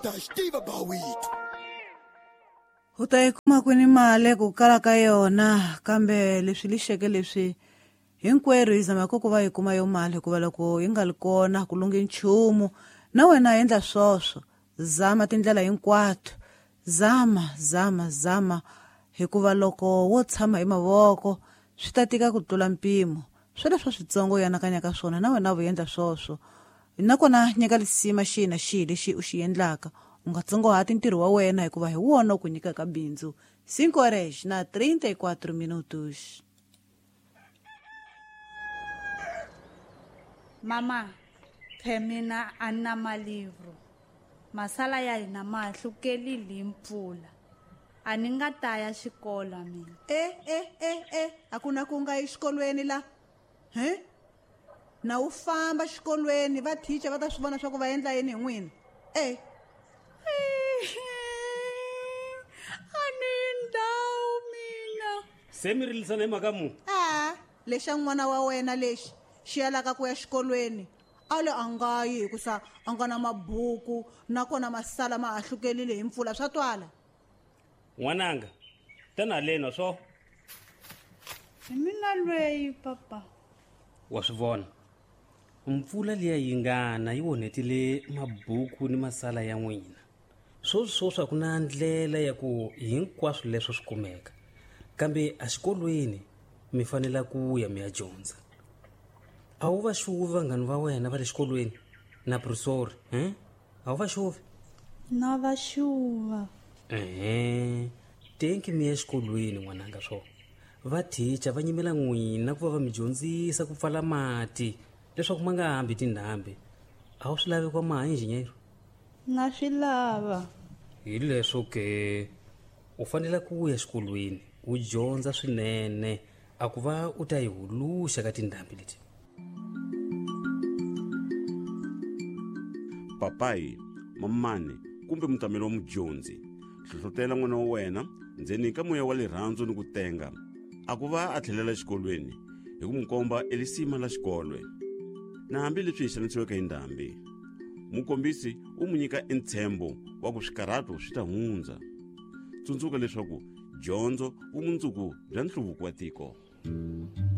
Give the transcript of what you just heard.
ta xi tiva bawito. U ta yi kuma kwini mali ku kala ka yona, kambe leswi lixeke leswi hinkwerhu hi zamaka ku va hi kuma yo mali, hikuva loko yi nga li kona ku lunghi nchumu. Na wena endla swoswo, zama tindlela hinkwato, zama zama zama, hikuva loko wo tshama hi mavoko swi ta tika ku tlula mpimo. Sweleswo switsongo u anakanyaka swona, na wena u endla swoswo. Nakona nyika lisima xihi na xihi lexi u xi endlaka, u nga tsongohati ntirho wa wena, hikuva hi wona u ku nyikaka bindzu. 5 horas na 34 minutos. Mama, phe mina a ni na malivro. Masala ya hina ma hlukelile hi mpfula. A ni nga ta ya xikolo mina. E e e e, a ku na ku nga yi xikolweni la. He? Na u famba xikolweni va teacher va ta swi vona swa ku va endla yini hi n'wina. E. A ni ndhawu mina. Se mi rilisana hi mhaka mu? A, lexa n'wana wa wena lexi xi yalaka ku ya xikolweni. A le a nga yi hikusa a nga na mabuku, nakona masala ma hahlukelile hi mpfula, swa twala. N'wananga, tana haleni swo. Hi mina lweyi papa. Wa swi vona, mpfula liya yi ngana yi onhetile mabuku ni masala ya n'wina. Swoswi swoswi a ku na ndlela ya ku hinkwaswo leswo swi kumeka, kambe exikolweni mi fanele ku ya mi ya dyondza. A wu va xuvi vanghani va wena va le xikolweni na professor, he? A wu va xuvi? Na va xuva. Ehe, tenki mi ya exikolweni n'wananga swo. Va teacher va nyimela n'wina ku va va mi dyondzisa ku pfala mati leswaku ma nga hambi tindhambi. A wu swi lavi kwa maha engineer? Na swi lava. Hi leswo ke u fanele ku ya xikolweni u dyondza swinene, a ku va u ta yi huluxa ka tindhambi leti. Papai, mamani kumbe mutameli wa mudyondzi, hlohlotela n'wana wa wena ndzeni ka moya wa rirhandzu ni ku tenga, a ku va a tlhelela exikolweni hi ku n'wi komba elisima la xikolwe. Na hambileswi hi xanisiweke hi ndhambi, mukombisi u n'wi nyika entshembo wa ku swikarhato swi ta hundza. Tsundzuka leswaku dyondzo vumundzuku bya nhluvuko wa tiko.